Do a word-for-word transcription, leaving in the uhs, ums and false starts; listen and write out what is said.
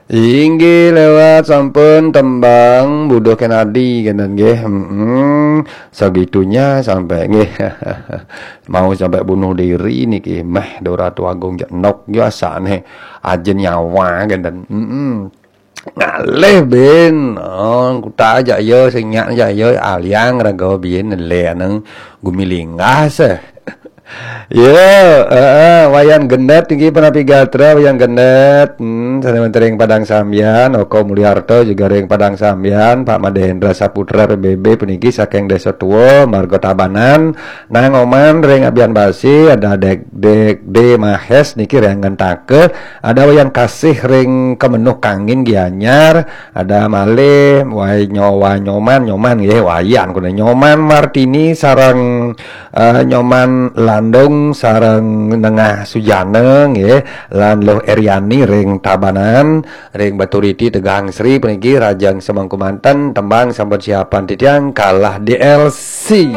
Inggih lewat sampun tembang Buduh Kenadi kenten nggih. Mm-mm. Segitunya sampai nggih. Mau sampai bunuh diri niki meh Dora Tuagung jak nok yo asane ajen nyawa kenten. Mm-mm. Ngalih bin. Oh, kuta aja yo sing nyak aja yo aliang raga bin le aneng gumilinggah seh. Yo, heeh, Wayan Gendet niki Penapi Gatra, Wayan Gendet. Hmm, sane wenten ring Padang Sambian, Oko Mulyarto juga ring Padang Sambian, Pak Madhendra Saputra P B B puniki saking Desa Tua, Marga Tabanan, Nang Oman ring Abian Basi, ada Dek Dek D Mahes niki ring Ngentaka, ada Wayan Kasih ring Kemenuh Kangin Gianyar, ada malih Wai Nyowa Nyoman, Nyoman nggih, Wayan kuna Nyoman Martini sareng eh, Nyoman Landung sareng Nengah Sujana nggih, lan Luh Eriani ring Tabanan, ring Baturiti Tegang Sri puniki rajang semengku manten tembang sampun siapan titiang kalah D L C.